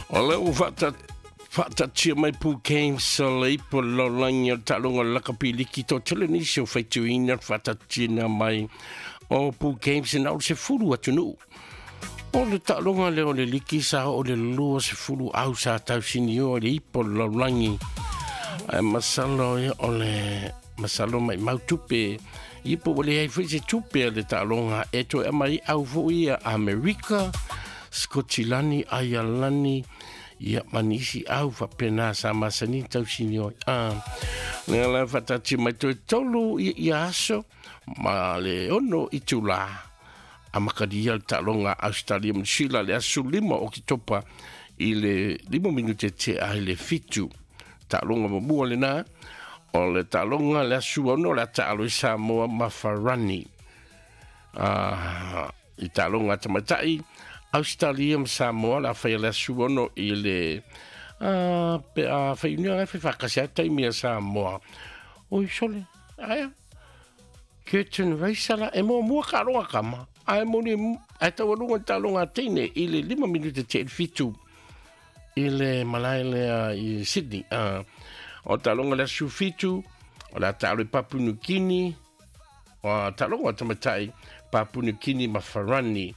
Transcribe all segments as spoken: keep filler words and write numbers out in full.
O le ua faatatia mai Pool Games o le ipo lalolagi o le taaloga o le lakapi liki to tele nisi o faitioina le faatatia mai o Pool Games na o le sefulu atunuu. O le taaloga lea o le liki sa oo le lua sefulu au sa tausinio le ipo lalolagi. Ae masalo ia o le masalo mai mau tupe ia po ua leai foi se tupe a le taaloga e toe aumai au foi ia Amerika, Skotilani, Aialani, ia ma nisi au faapena sa masani tausinio ai. Ah, lea la faatati mai toe tolu ia, ia aso ma le ono itulā amakalia le taaloga Australia ma Sila le aso lima o Oketopa i le lima minute tea ai le fitu. Taaloga muamua lenā o le taaloga le aso ono le a taalo i Samoa ma Farani. Ah, i taaloga a tamaitai Australia ma Samoa la faia le aso ono i le ah, pe a faiunia ai faifakasi ai taimi a Samoa. Oi sole, aia. Curtain Racer la e muamua taaloga kama. Ae moni ae taualuga le taaloga a teine i le lima minute tea i le fitu i le malae lea i Sydney. Ah, o taaloga le aso fitu o le a taalo i Papua New Guinea, o taaloga o tamaitai Papua New Guinea ma Farani.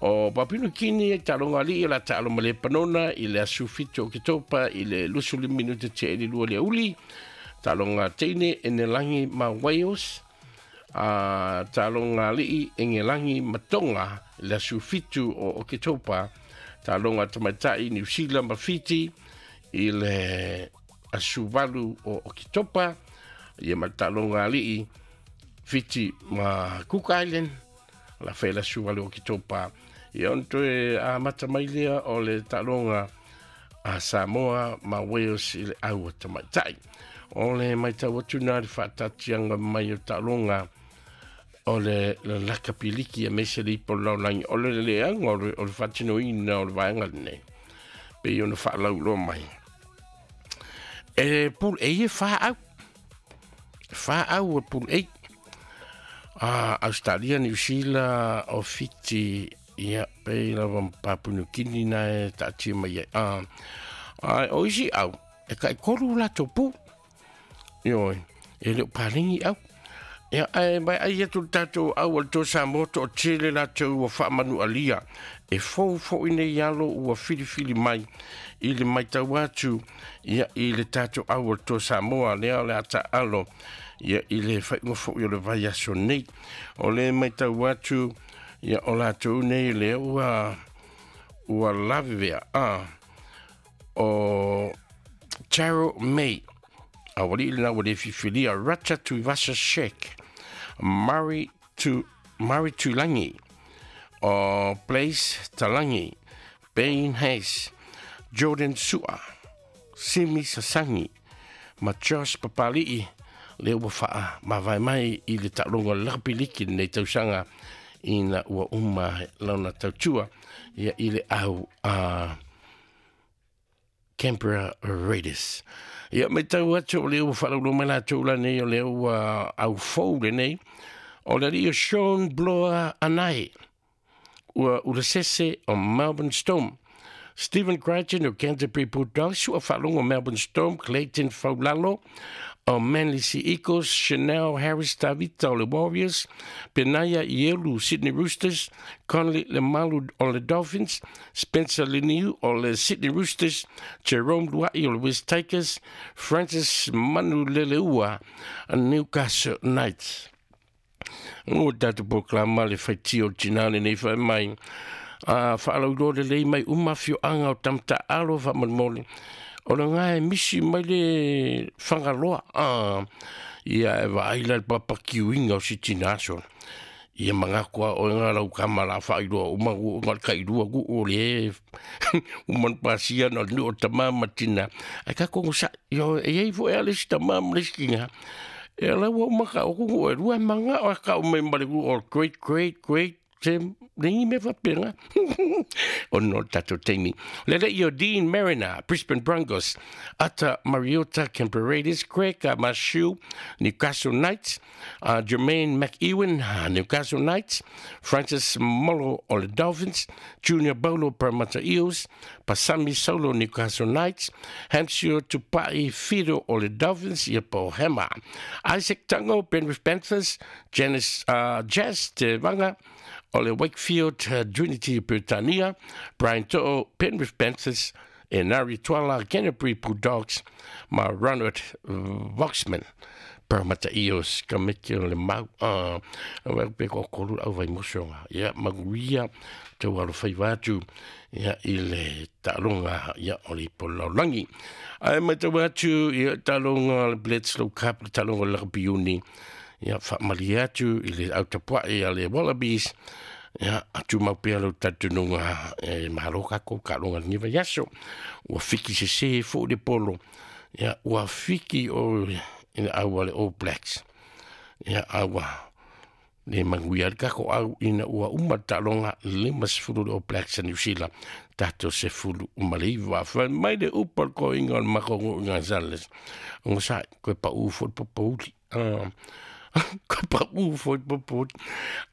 O Papua New Guinea e taaloga alii o le a taalo ma Lepanona i le aso fitu o Oketopa i le luasefu lima minute tea i le lua le aoauli. Taaloga teine Enelagi ma Wales. A taaloga alii Engelagi ma Tonga i le aso fitu o Oketopa. Taaloga tamaitai New Zealand ma Fiti i le aso valu o Oketopa. Ia ma le taaloga alii Fiti ma Cook Island la faia le aso valu o Oketopa. Ia ona toe amata mai lea o le taaloga a Samoa ma Wales i le au a tamaitai. O le matau atu na le faatatiaga mai o taaloga o le lakapi liki aemaise le ipo lalolagi o le leaga o le, o le faatinoina o le vaega lenei pei ona faalauiloa mai. E Pool A e fa au. Fa au o Pool A. Ah, Australia, New Zealand, o Fiti, ia, pei lava ma Papua New Guinea na e taatia mai ai. Ah, ai, o isi au, e taitolu latou pool. Ioe, e le o paleni au. Ia, ae mai ai atu le tatou au o le Toa Samoa toatele latou ua faamanualia. E fou foi nei alo ua filifili mai i le matau atu ia i le tatou au o le Toa Samoa lea o le a taalo ia i le faaiuga foi o le vaiaso nei. O le matau atu ia o latou nei lea ua ua lavevea a o Taro May aualii lena ua le fifilia Rata Tuivasa Sheck Murray tu Murray Tuilagi o Blaise Talangi Bain Hayes Jordan Sua Simi Sasangi ma Josh Papali'i lea ua faamavae mai i le taaloga o le lakapi liki lenei tausaga ina ua uma lona tautua ia i le au a Canberra Raiders. Ia matau atu o lea ua faalauiloa mai latou la nei o lea ua au fou lenei o le alii o Sean Bloa Anae ua ulasese o Melbourne Storm. Stephen Crichton o Canterbury Bulldogs ua faalogo Melbourne Storm, Clayton Faulalo o Manly Sea Eagles, Chanel Harris Tavita o le Warriors, Penaia Ielu Sydney Roosters, Conley Lemalu o le Dolphins, Spencer Leniu o le Sydney Roosters, Jerome Luai o le West Tigers, Francis Manu Leleua Newcastle Knights. Ua tatou polokalama le faitio o le tinā lenei faimai mai. A faalauiloa lelei mai uma afioaga o Tamataalo faamolemole. O le ga e misi mai le Fagaloa. A, ia e vaai la le papakiuiga o si tinā sona. Ia mangaku a oe ngā lau kama la faailoa uma ua nga le tailua ku o le uma na pasia na o le nuu o tamā ma tinā. Ae tatou onosai, ioe, e iai foi a le isi tamā ma le isi tinā. E ala ua uma ka o ku e lua e manga o ka o mai ma le ku o great great great Se lengi me faapega ona o le tatou taimi. Le le i o Dean Mariner, Brisbane Broncos, Ata Mariota, Canberra Raiders, Craig Mashu, Newcastle Knights, uh, Jermaine McEwen, uh, Newcastle Knights, Francis Molo o le Dolphins, Junior Bolo, Parramatta Eels, Pasami Solo, Newcastle Knights, Hampshire Tupai Fido o le Dolphins, ia po Hema, Isaac Tango, Penrith Panthers, Janice, uh, Jazz Te Vanga o le Wakefield uh, Trinity Britannia, Brian To'o, Penrith Panthers, Enari Tuala, Canterbury Bulldogs, ma Ronald Voxman, Parramatta Eels, ka meke o le mau, uh, wa pe ko kolu au vai mosonga, ia maguia, tau alo whai wātu, ia i le talonga, ia o le polaulangi. Ai mai tau atu, ia talonga le Bledisloe Cup, le talonga le rugby uni, ia whaamali atu i le autapuai a le Wallabies, ia atu mau pea lau tatununga e mahalo kako ka longa ni vai aso. Ua fiki se se fo le polo, ia ua fiki o i le aua le All Blacks, ia aua le manguia kako au ina ua uma talonga lima sefulu le All Blacks a New Zealand, tato sefulu uma le iwa. Whai mai le upa le koinga o le makongo i ngā sales. Ngo sai, koe pa u fo le popouli. Uh, koe pa u fo le popouli.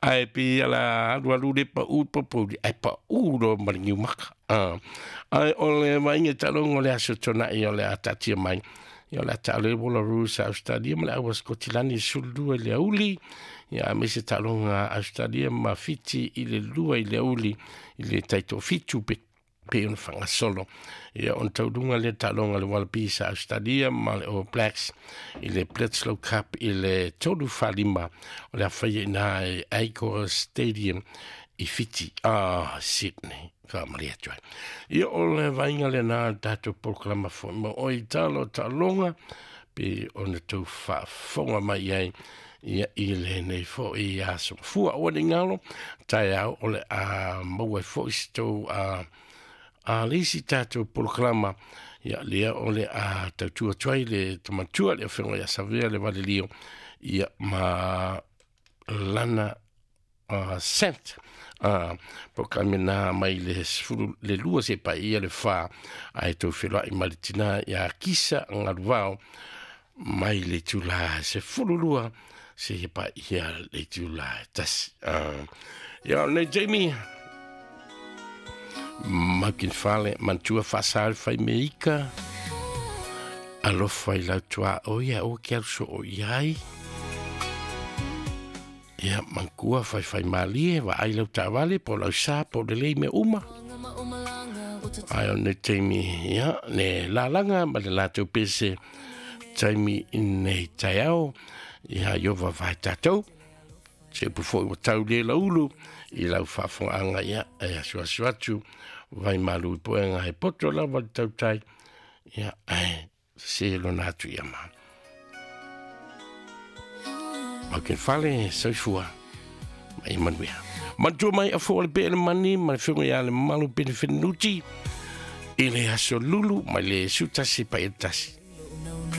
Ai pi ala alu alu le pa u popouli. Ai pa u ro maringi umaka. Uh, ai o le mainga talonga o le aso tonai o le atatia mai. Ia o le ata le Wallaroos a Australia ma le aua Scotland sulu le auli. Ia me se talonga Australia ma Fiti i le lua i le auli i le taito fitu pe pe ona whangasolo. Ia on taurunga le talonga le Wallabies a Australia ma le All Blacks i le Bledisloe Cup i le tolu whalima o le awhaia ina e Accor Stadium i Fiti, ah, Sydney. Whaamari atu ai. Ia o le vainga le nā tātou polokalama fo ma o i talo talonga pe ona tau whaafonga mai ai ia i le nei fo i aso. Fua o ni ngalo, tae au o le a maua fo i se tau a a lisi tātou polokalama ia lea o le a tautua tuai le tamatua le awhenga ia savea le valilio ia ma lana uh, sent. Uh, polokalame nā mai le sefulu le lua se pa ia le wha ai tau wheloai ma le tina ia kisa ngaruwao mai le tula se fulu lua se pa ia le tula tasi. Uh, ia nei Jamie Makin fale mantua whasal whai me ika alofa i lautua o ia o ke aruso o iai. Ia mankua whai whai malie wa ai lau tawale po lau sa po le lei me uma. Ai o ne taimi ia ne lalanga ma le lātou pese taimi nei taiao ia iova vai tātou. Se upu foi o tau le laulu i lau whaafonga ia e asu asu atu vai malu i poenga he poto lava le tautai ia e se lona atu ia ma. Mauken fale soifua mai manuia. Matua mai a fo le pele mani ma le whenga ia le malu pene whenuti i le aso lulu mai le sutasi pa e tasi.